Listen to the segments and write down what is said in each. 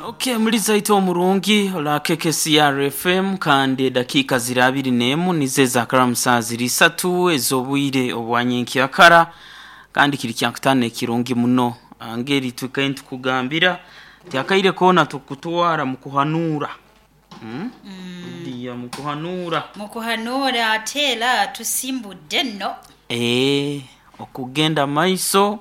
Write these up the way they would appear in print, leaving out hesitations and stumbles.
Okay, muri zaito omurungi ola KKCR FM, kandi edakiika ziri 21 nizo ezakaramu saa ziri 3 ez'obwire obwanyenkyakara, kandi kiri kyakutaano ekirungi muno. Ngeri twikaire nitukugambira ti akaire koona tukutwara mu kuhanuura. Dia mu kuhanuura. Mu kuhanuura ate era tusimbudde nno. Okugenda maiso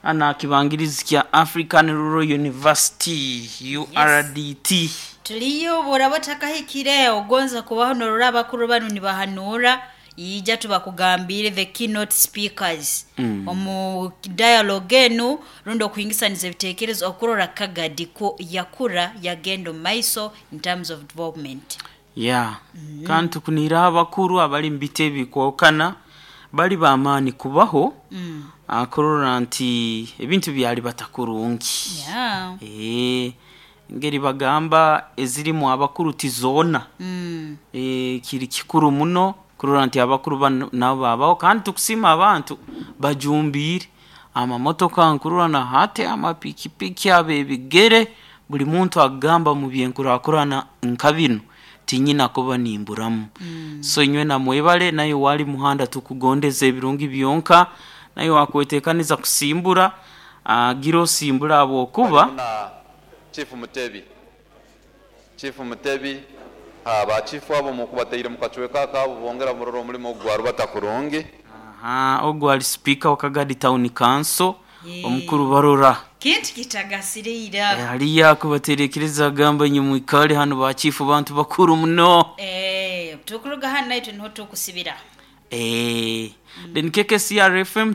hano aha kibangirizi kya African Rural University URDT. Tuliyo bw'oraba otakahikire ogonza kubaho norora abakuru banu nibahanuura, ija tubakugambiire the keynote speakers omu dialogue enu rundi okuhingisaniza ebiteekerezo okurora Kagadi ku yakura yagenda omu maiso in terms of development. Yeah. Kandi tukuniire abakuru abali mu biti ebikwokana bali b'amaani kubaho kurora nti ebintu byalibata kurungi. Engeri bagamba ezirimu abakuru ti zoona. Kiri kikuru muno kurora nti abakuru banu nabo babaho, kandi tukusiima abantu bajumbiire amamotoka nkurora na hati amapikipiki ab'ebigere, buli muntu akugamba mu byenkurakurana nka binu tinyina kuba nimburamu. So inywena mwebale, naye wali muhanda tukugondeza ebirungi byonka, naye wakwetekaniza kusimbura, gira osimbura habwokuba Na Chief Mutebi. Chief Mutebi, ba chief abo mukubataire mu kacweka akabo bongera murora omulimo ogu gwarubata kurungi. Aha, ogu ali sipiika wa Kagadi Town Council, omukuru Barora. Kintu kitagasire ira. Haliyo akubaterekereza agamba inywe mwikale hanu ba chief bantu bakuru muno. Tukuruga hanu naitwe niho tukusibira. Then KKCR FM.